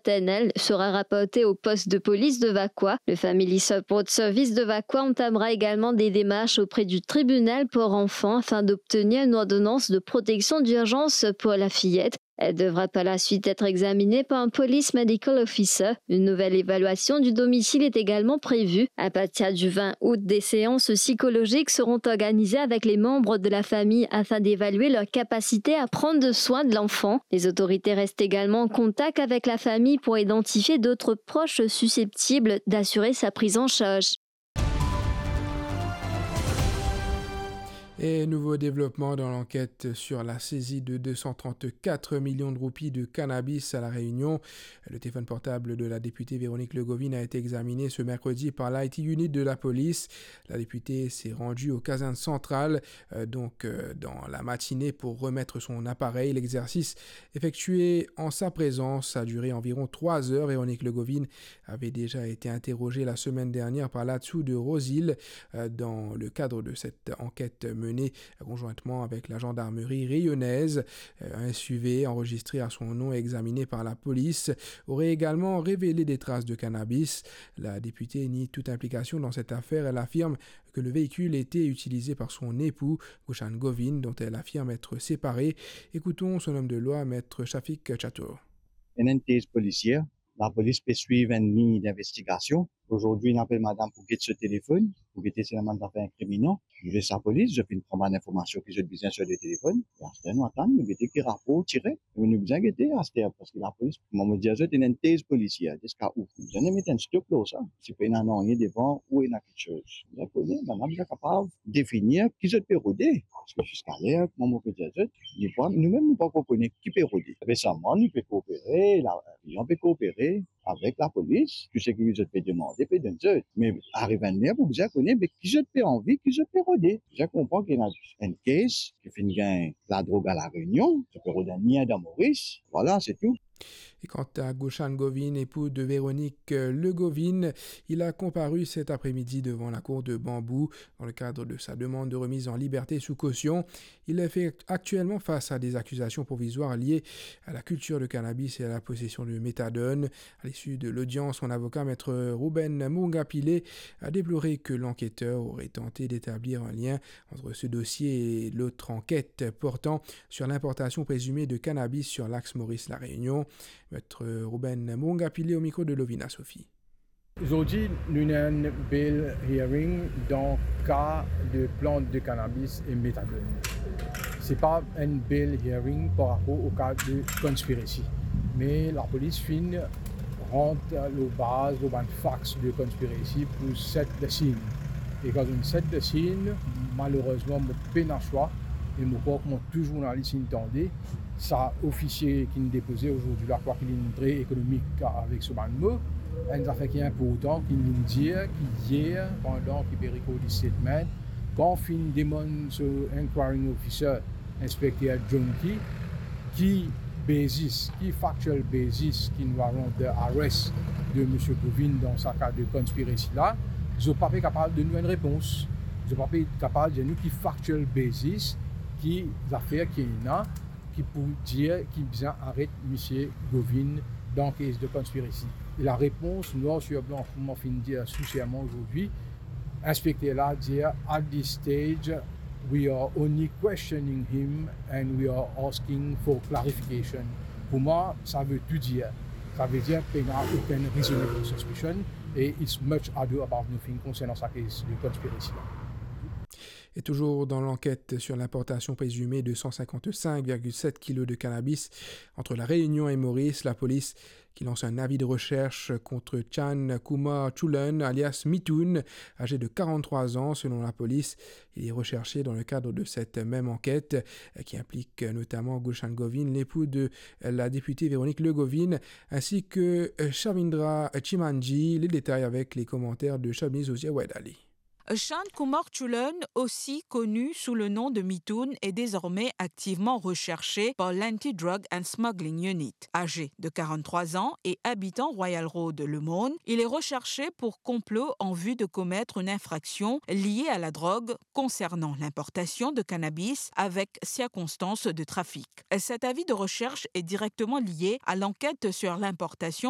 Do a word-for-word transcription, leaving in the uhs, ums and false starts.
P N L sera rapportée au poste de police de Vacoas. Le Family Support Service de Vacoas entamera également des démarches auprès du tribunal pour enfants afin d'obtenir une ordonnance de protection d'urgence pour la fillette. Elle devra par la suite être examinée par un police medical officer. Une nouvelle évaluation du domicile est également prévue. À partir du vingt août, des séances psychologiques seront organisées avec les membres de la famille afin d'évaluer leur capacité à prendre soin de l'enfant. Les autorités restent également en contact avec la famille pour identifier d'autres proches susceptibles d'assurer sa prise en charge. Et nouveau développement dans l'enquête sur la saisie de deux cent trente-quatre millions de roupies de cannabis à La Réunion. Le téléphone portable de la députée Véronique Legovine a été examiné ce mercredi par l'I T unit de la police. La députée s'est rendue au caserne centrale, euh, donc, euh, dans la matinée pour remettre son appareil. L'exercice effectué en sa présence a duré environ trois heures. Véronique Legovine avait déjà été interrogée la semaine dernière par l'ATSU de Rose-Île, euh, dans le cadre de cette enquête menée conjointement avec la gendarmerie réunionnaise. Euh, un S U V enregistré à son nom et examiné par la police aurait également révélé des traces de cannabis. La députée nie toute implication dans cette affaire. Elle affirme que le véhicule était utilisé par son époux, Gushan Govind, dont elle affirme être séparée. Écoutons son homme de loi, Maître Shafik Chatur. Ena enn tez polisier, lapolis pe swiv enn lign dinvestigasion. Azordi, nou apel madam pou get so telefonn, pou gete si ena bann zafer inkriminan. Zis lapolis, zot finn pran bann informasion ki zot bizin sir le telefonn. E aster, nou atann, nou gete ki rapor tire. Me nou bizin gete aster, parski lapolis, kouma mo dir zot, ena enn tez polisier, ziska ou? Nou bizin met enn stop lor sa. Si pena nanye devan ou ena kiksoz. Bizin kone, bann la bizin kapav definir ki zot pe rode. Parski ziska ler, kouma mo pe dir zot, nou pa, nou mem nou pa ankor kone ki pe rode. Resaman, nou pe koopere, la, klian pe koopere avek lapolis, tou seki zot pe demande, pe donn zot. Me ariv enn ler pou bizin kone, be ki zot pe anvi, ki zot pe rode. Bizin konpran ki ena enn kes ki finn gagn ladrog a La Réunion, zot pe rod enn lien dan Moris. Vwala, se tou. Et quant à Gushan Govind, époux de Véronique, euh, Legovine, il a comparu cet après-midi devant la cour de Bambou dans le cadre de sa demande de remise en liberté sous caution. Il fait actuellement face à des accusations provisoires liées à la culture de cannabis et à la possession de méthadone. À l'issue de l'audience, son avocat, Maître Ruben Murunga Pillay, a déploré que l'enquêteur aurait tenté d'établir un lien entre ce dossier et l'autre enquête portant sur l'importation présumée de cannabis sur l'axe Maurice-La Réunion. Maître Ruben Murunga Pillay au micro de Lovina Sophie. Zordi, nou ena enn bail hearing dan ka de plant de cannabis e méthadone. Se pa enn bail hearing par rapor o ka de conspiracy. Me lapolis finn rant lor baz, lor bann facts de conspiracy pou set the scene. E kan zot inn set the scene, malerezman, mo pena swa, e mo krwar kouma tou zournalis inn tande, sa ofisie ki'nn depoze azordi la, kwake li'nn tre ekonomik avek so bann mo, enn zafer ki inportan ki'nn vinn dir, ki yer, pandan ki pe record statement, kan finn demann so inquiring officer, inspekter John Key, ki basis, ki factual basis ki'nn warrant the arrest de Misie Govind dan sa ka de conspiracy la, zot pa pe kapav donn nou enn repons. Zot pa pe kapav dir nou ki factual basis, ki zafer ki ena, ki pou dir ki bizin aret Misie Govind dan kes de conspiracy. E larepons, nwar sir blan, kouma mo finn dir sou serman azordi, inspekter la dir, "At this stage, we are only questioning him and we are asking for clarification." Pou mwa, sa ve tou dir. Sa ve dir pena okenn reasonable suspicion e it's much ado about nothing konsernan sa kes de conspiracy la. Et toujours dans l'enquête sur l'importation présumée de cent cinquante-cinq virgule sept kilos de cannabis entre La Réunion et Maurice, la police qui lance un avis de recherche contre Chan Kumar Chulan, alias Mithun, âgé de quarante-trois ans selon la police. Il est recherché dans le cadre de cette même enquête, euh, qui implique notamment Gulshan Govind, l'époux de la députée Véronique Le Govind, ainsi que, euh, Shavindra Chimanji. Les détails avec les commentaires de Shabnez Ozier Waidali. Shan Kumar Chulan, aussi connu sous le nom de Mithun, est désormais activement recherché par l'Anti-Drug and Smuggling Unit. Âgé de quarante-trois ans et habitant Royal Road, Le Morne, il est recherché pour complot en vue de commettre une infraction liée à la drogue concernant l'importation de cannabis avec circonstances de trafic. Cet avis de recherche est directement lié à l'enquête sur l'importation